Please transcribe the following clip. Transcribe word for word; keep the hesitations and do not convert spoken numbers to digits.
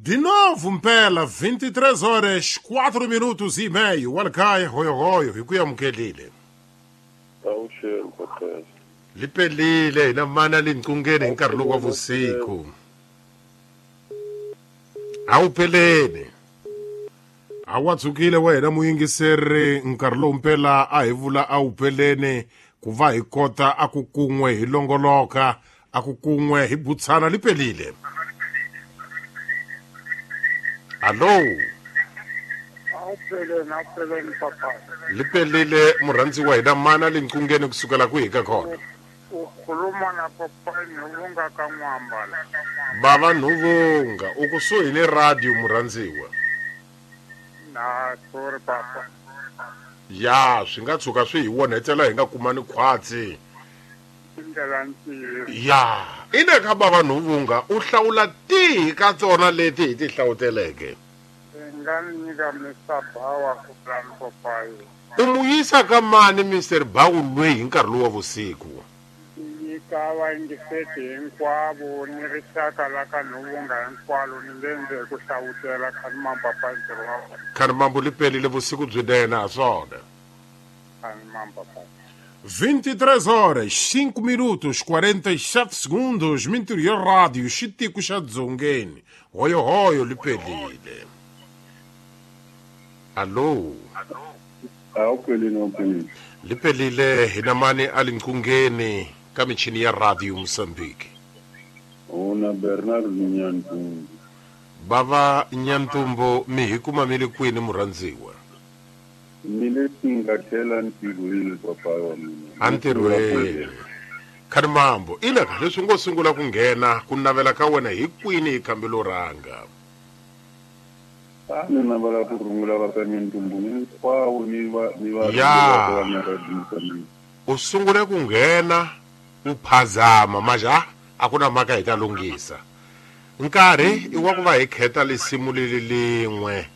De novo mpela vinte e três horas quatro minutos e meio. Walkaya hoyo hoyo hi ku amukelile. Awuxeni Cortez. Lipelile hina mana linqungeni hi nkarhi lowu wa vusiku. Awupheleni. Awatsukile wena muyingiseri nkarhi lowu mpela a hi vula awupheleni ku va hi kota a ku kun'we hi longoloka a ku kun'we hi butsana lipelile. Allo. Awupheleni awupheleni papa. Lipelile murhandziwa hina mana linqungeni kusukela kwihi ka khona. Ukhuluma na papa Nhuvunga ka N'wambala. Bava Nhuvunga u kusuhi ni radio murhandziwa. Na sorry papa. Ya swi nga tshuka swi hi onhetela hi nga kumani khwatsi. Ya ine ka bava Nhuvunga u hlawula tihi ka tsona leti hi ti hlawuteleke. Nga nyika Mister Bawa ku plan papayi. U mu yisa ka mani Mister Bawu lweyi hi nkarhi lowu wa vusiku? Nyika vayingiseti hinkwavo ni rixaka la ka Nhuvunga hinkwalo ni nge ku hlawutela Khanimambo papa ntirho wa wena. Khanimambo lipelile vusiku byinene ha swona. Khanimambo papa. vinte e três horas, cinco minutos, quarenta e sete segundos, Mintirio Rádio, xitiko xa Dzongeni. Hoyo hoyo lipelile. Allo. Awuphelile awuphelile. Lipelile hina mani alinqungeni ka michini ya Radio Mozambique. Una Bernard Nyantumbo. Bava Nyantumbo mi hi kuma mi le kwini murhandziwa? Mi le tingathela ntirhweni papa wa mina. Antirhweni. Khanimambo ina ka leswi ngo sungula ku nghena ku navela ka wena hi kwini hi khambelo rhanga? A ni navela ku rungula va ka Nyantumbo hinkwavo ni va ni va ya u sungule ku nghena u phazama maja a ku na mhaka hi ta lunghisa. Nkarhi i wa ku va hi kheta lisimu leli lin'we